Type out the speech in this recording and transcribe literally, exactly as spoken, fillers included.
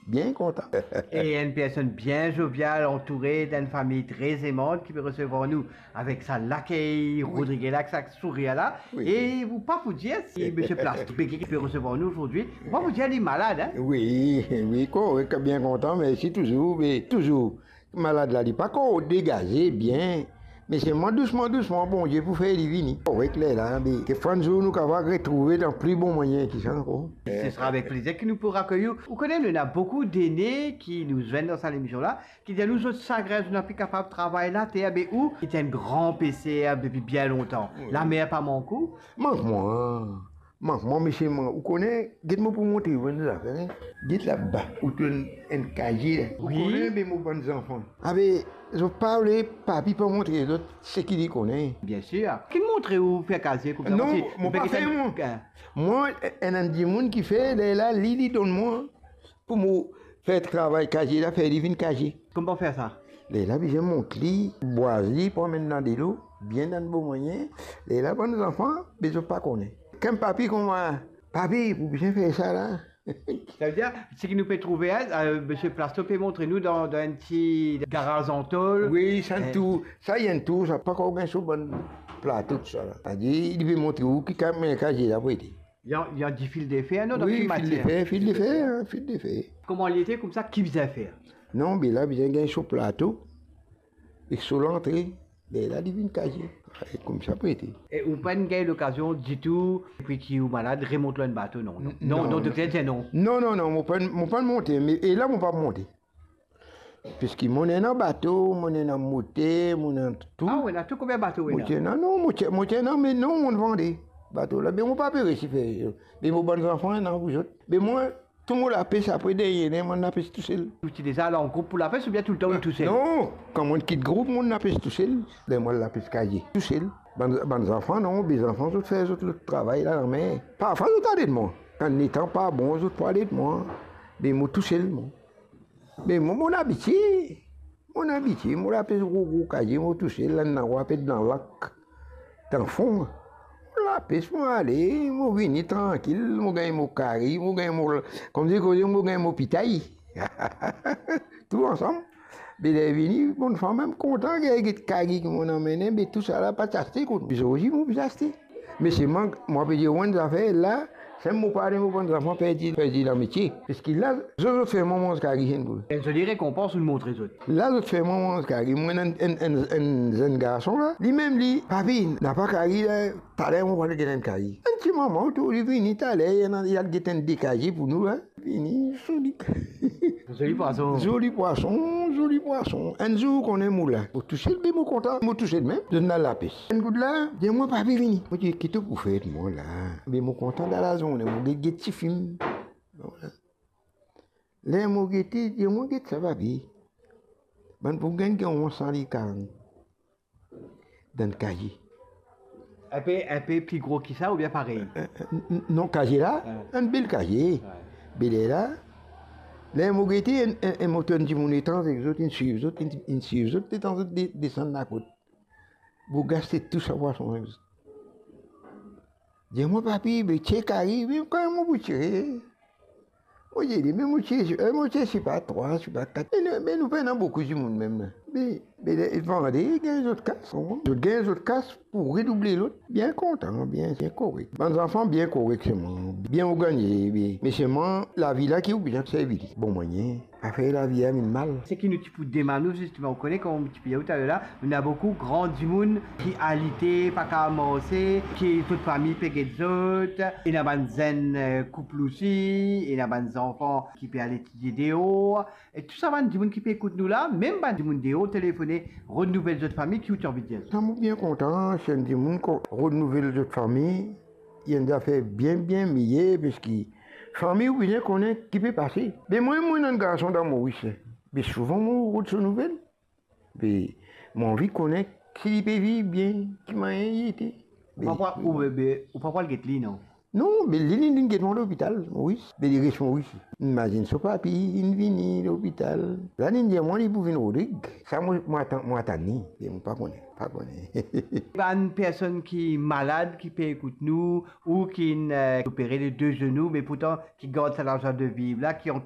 Bien kontan. E enn personn bien jovial, antoure d'enn fami tre zemant ki pe resevwar nou avek sa lakey rodrigez la, ek sa sourir la. Wi. E ou pa pou dir si Misie Plasto ki pe resevwar nou azordi, ou pa pou dir li malad, hein? Wi, wi, korek, bien kontan, mersi touzour, me touzour. Malad la, li pa ankor degaze bien, me selman dousman, dousman, Bondie pou fer li vini. Korek, lerla, be, kekfwa enn zour nou kapav retrouve dan pli bon manier ki sa ankor. Se sera avek plezir ki nou pou akeyir ou. Ou kone, nou ena boukou dene ki nou zwenn dan sa lemision la, ki dir nou zot sagrin, zot napa kapav travay later, be ou, ki ti enn gran peser depi bien lontan. Wi. Lamer pa mank ou? Mank mwa. Mank mwa, misie, mwa, ou kone, get mo pou montre ou enn zafer, hein. Get laba, ou trouv enn, enn kazie la. Ou kone, be mo bann zanfan. Abe, zot pa vle papi pa montre zot seki li kone. Biensir. Ki montre ou fer kazie koumsa? Non, mo pa fer, mwa. Mwa, enn, enn dimoun ki fer, lerla, li, li donn mwa pou mo fer travay kazie la, fer li vinn kazie. Kouma fer sa? Lerla bizin mont li, bwaz li, pou amenn dan delo, bien dan bon manier. Lerla bann zanfan, be zot pa kone. Kan papi kouma, papi, pou bizin fer sa la. Savedir, seki nou pe trouve, hein, misie Plasto pe montre nou dan, dan enn ti garaz an tol. Wi, sa enn tour, sa enn tour, sa pa ankor gagn so bann plato, tousala. Savedir, li pe montre ou ki kazie la pou ete. Li anvi dir fil de fer, non? Wi, fil de fer, fil de fer, hein, fil de fer. Kouma li ete koumsa, ki bizin fer? Non, be la bizin gagn so plato ek so lantre, be la li vinn kazie. E koumsa pou ete. E ou pa'nn gagn lokazion ditou, depi ki ou malad, remont lor enn bato, non? Non, non, non, dokter dir non. Non, non, non, mo pa'nn, mo pa'nn monte, me, e la mo pa monte. Piski mo ena bato, mo ena moter, mo ena tou. Ah, ou ena tou, konbien bato ou ena? Mo ti ena, non, mo ti, mo ti ena, me non, mo vande bato la. Be mo pa pe resi fer, be mo bann zanfan ena pou zot. Be mwa, tou mo lapes apre dernie, mo lapes tousel. Ou ti deza al an group pou lapes oubien toultan ou tousel? Non, kan mo kit group, mo lapes tousel. Ler mo lapes kazie, tousel. Bann, bann zanfan, non, be zanfan, zot fer zot lot travay la, lamer. Parfwa zot al ed mwa. Kan letan pa bon, zot pou al ed mwa. Be mo tousel, mwa. Me mo, mo abitie, mo abitie, mo lapes gro, gro kazie, mo tousel, la ena wa pe dan lak, dan fon. Mo lapes, mo ale, mo vini trankil, mo gagn mo kari, mo gagn mo, kouma dir koze, mo gagn mo pitay. Tou ansam. Be ler vini, bann zanfan mem kontan, get, get kari ki mo amenn, be tousala pa ti aste kot. Bizin osi, mo bizin aste. Me selman, mo pe dir ou enn zafer la, si mo pa ale, mo bann zanfan perdi, perdi lametie. Piski la, zot, zot fer mwa manz kari, enn boul. Enn zoli rekonpans ou montre zot. La, zot fer mwa manz kari, mo ena enn, enn, enn, enn zenn garson la, limem li, "Papi, napa kari la, taler mo pou al get enn kari." Enn ti moman, tou li vini taler, li al get enn de kazie pou nou la. Vini, zoli. Zoli pwason. Zoli pwason, zoli pwason. Enn zour, ou kone mo la. Mo tousel, be mo kontan, mo tousel mem. Zot ena lapes. Enn kout la, dir mwa, "Papi, vini." Mo dir, "Ki to pou fer mwa la?" Be mo kontan dan lazorne, mo get, get tifilm. Ler mo gete, dir mwa, "Get sa, papi." Bann pou gagn, gagn san-li karan. Dan kazie. Enpe, enpe pli gro ki sa oubien parey? Eh, eh, n-, n-, non, kazie la, enn bel kazie. Be lerla, ler mo gete, enn, enn, enn moto, enn dimoun etranze, zot, inn swiv zot, inn, inn swiv zot, letan zot de-, desann lakot. Pou gaste tou sa pwason ek zot. Dir mwa, "Papi, be tire kari." Me kan mo pou tire, mo dir li, "Me mo tire, eh, mo tire, sipa trwa, sipa kat." E nou, me nou pena boukou dimoun mem la. Me, me le, vande, gagn zot kas, konpran? Zot gagn zot kas pou redouble lot. Bien kontan, bien, bien korek. Bann zanfan bien korek selman, bien organize, bien. Me selman, lavi la ki ou bizin servi li. Bon manier. Afer lavi a vinn mal. Seki nou ti pou demann ou, zisteman, ou kone, kouma ti pe dir ou taler la, nou ena boukou gran dimoun ki alite, pa kapav marse, ki zot fami pe get zot, ena bann zenn, eh, koup osi, ena bann zanfan ki pe al etidie deor, e tou sa bann dimoun ki pe ekout nou la, mem bann dimoun deor, telefone, rod nouvel zot fami, ki ou ti anvi dir? Sa mo bien kontan, si enn dimoun ko-, rod nouvel zot fami, li enn zafer bien, bien meyer, piski fami ou bizin kone ki pe pase. Be mwa, mo ena enn garson dan Moris, be souvan mo rod so nouvel. Be mo anvi kone si li pe viv bien, ki manier li ete. Be ou pa pou al, ou, be, ou pa pou al get li, non? Non, be li, li, li get mwa lopital, Moris. Be li res Moris. Imazinn so papi, inn vini lopital. La, li dir mwa li pou vinn Rodrig. Sa mo, mo atann, mo atann li. Be mo pa kone, pa kone. Bann personn ki malad, ki pe ekout nou, ou ki inn, eh, opere le de zenou, me pourtan ki gard sa lazwa de viv la, ki antour